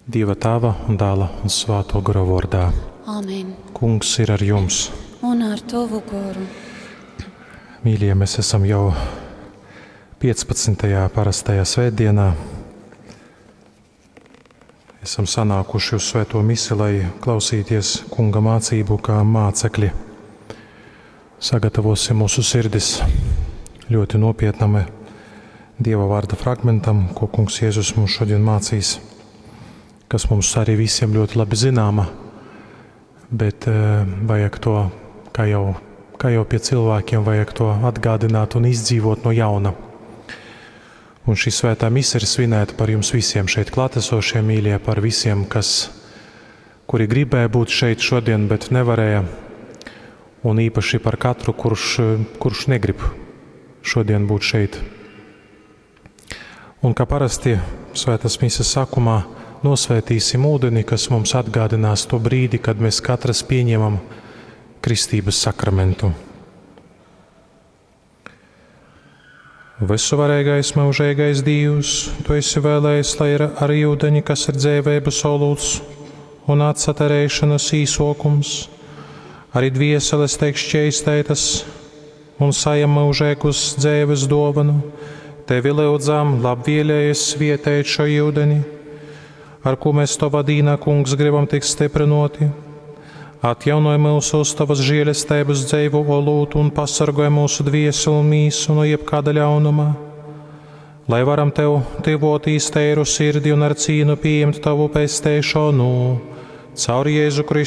Dieva Tēva un Dēla un Svēto Gora vārdā. Amen. Kungs ir ar jums. Un ar tavu goru. Mīļie, mēs esam jau 15. parastajā svētdienā. Esam sanākuši uz svēto misi, lai klausīties kunga mācību kā mācekļi. Sagatavosim mūsu sirdis ļoti nopietnam Dieva vārda fragmentam, ko kungs Jēzus mums šodien mācīs, kas mums arī visiem ļoti labi zināma, bet eh, vajag to, kā jau, kā jau pie cilvēkiem, vajag to atgādināt un izdzīvot no jauna. Un šī svētā mise ir svinēta par jums visiem šeit klātesošiem, mīļie, par visiem, kas, kuri gribēja būt šeit šodien, bet nevarēja, un īpaši par katru, kurš, kurš negrib šodien būt šeit. Un kā parasti svētās mises sākumā nosvētīsim ūdeni, kas mums atgādinās to brīdi, kad mēs katrs pieņemam kristības sakramentu. Visuvarīgais, mūžīgais Dievs, Tu esi vēlējis, lai ir ar ūdeni, kas ir dzīvības olūts un atsaterēšanas īsokums, arī dvieseles tiek šķeistētas un sajam mūžīgus dzīves dāvanu. Tevi lūdzam, labvēlējies svietēt šo ūdeni, ar ko mēs Tavā dīnā, Kungs, gribam tikt stiprinoti. Atjaunoj mūsu uz Tavas žēlestības dzīvu olūtu un pasargoj mūsu dvieseli un mīsu no jebkāda ļaunuma. Lai varam Tev tivotīs teiru sirdi un ar cīnu pieņemt Tavu pesteišanu. Caur Jēzu Kristu.